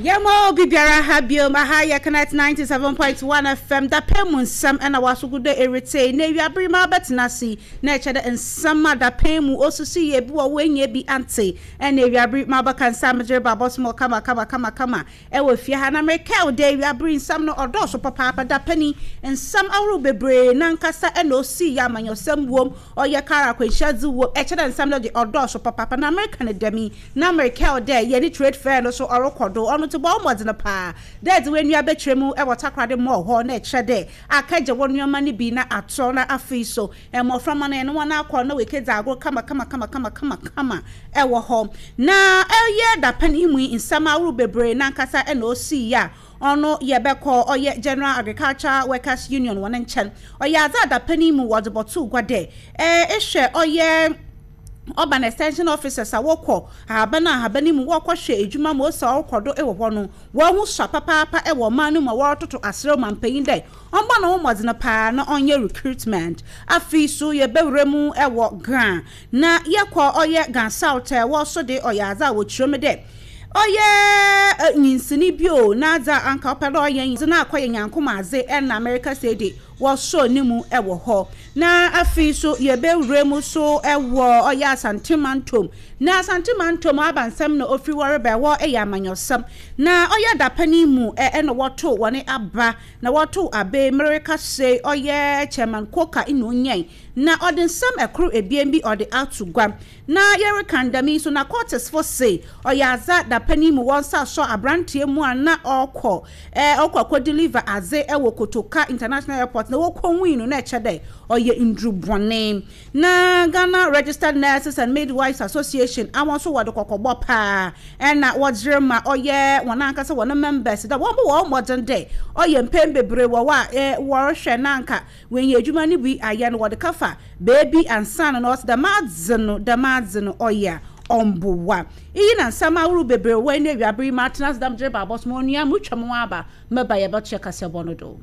Yɛma obi biara ha biom. Aha yɛ Connect 97.1 FM. Dapɛn mu nsɛm ɛna wasogu dɛ eretsie. Na ewiabere ma abɛtena ase na ɛkyɛ dɛ nsɛm a dapɛn mu osisi yɛ bi wɔ hɔ enye bi antse. Ɛna ewiabere ma abɛka nsa medze reba abɔsom kama kama kama kama ɛwɔ fie ha. Na merekɛw dɛ ewiabere nsɛm no ɔdɔɔso papaapa. Dapɛn yi nsɛm ahorow bebree nankasa ɛna osii yɛ amanyɔsɛm wom, ɔyɛ kar akwanhyia dze wom. Ɛkyɛ dɛ nsɛm no de ɔdɔɔso papaapa. Na mereka no dɛm yi, Na merekɛw dɛ yɛne trade fair no so ɔrokɔ do, ɔno ntsi bɔ wo mbɔdzen paa dɛ edze w'enyiwa bɛkyerɛ mu wɔ Takoradi Mall hɔ na ɛkyerɛ dɛ akɛgye wo nneɛma no bi na atɔ na afei so mboframba no enye hɔn akɔ na woekedzi agor kama-kama-kama-kama-kama wɔ hɔ. Na ɔyɛ dapɛn yi mu yi nsɛm ahorow beberee nankasa na osii a ɔno yɛbɛkɔ ɔyɛ General Agriculture Workers Union hɔn nkyɛn. Ɔyɛ adze a dapɛn yi mu wɔdze bɔtoo gua dɛ ehwɛ ɔyɛ Urban Extension Officers a wɔkɔ ahaban ahaban mu wɔkɔhwɛ edwuma ma osi a ɔrokɔ do wɔ hɔ no, hɔnho sua papaapa wɔ ɔman no mu a wɔrototo aserɛ ɔmampanyin dɛ ɔmbɔ noho mbɔdzen paa na ɔnyɛ recruitment. Afei so yɛbɛwura mu wɔ Ga na yɛkɔ ɔyɛ Ga South a wɔ so de ɔyɛ adze a wɔkyerɛ mu dɛ ɔyɛ nyinsini bi o n'adze a anka ɔpɛ dɛ ɔyɛ dze no akɔyɛ nyankomadze na merekasa yi de wɔsɔɔ ne mu wɔ hɔ. Na afei so yɛbɛwura mu so wɔ ɔyɛ Asante mantom. Na Asante mantom abansɛm na ofiri hɔ reba, ɛhɔ yɛ amanyɔsɛm. Na ɔyɛ dapɛn yi mu na wɔtoo wɔn aba, na wɔtoo aba yi merekasa yi ɔyɛ Chairman Coker na onyae. Na ɔde nsɛm ɛkoro ebien bi ɔde ato gua. Na yɛreka ndɛm yi so na Curtisfo se ɔyɛ adze a dapɛn yi mu wɔn nsa sɔ abranteɛ mu a na ɔkɔ eh ɔkɔ akɔ deliver adze wɔ Kotoka International Airport na wokohui no na ɛkyɛ dɛ ɔyɛ nduru bɔne. Na Ghana Registered Nurses and Midwives Association a wɔn nso wɔde kɔkɔbɔ paa na wɔdze rema ɔyɛ wɔn ankasa wɔn members dɛ wɔmbɔ wɔn mbɔdzen dɛ ɔyɛ mpɛn bebree wɔ hɔ a eh wɔrohwɛ na anka Woenya edwuma no bi ayɛ no, wɔdze kɛfa beebi ansaana na ɔse dɛm adze no, dɛm adze no ɔyɛ a ɔmmboa. Iyi na nsɛm ahorow beberee wɔ ndɛ ewiaber yi matsena ase dɛ medze reba abɔsom. Onua, murutwa moho aba, mɛba yɛbɔtoa kaseɛbɔ no do.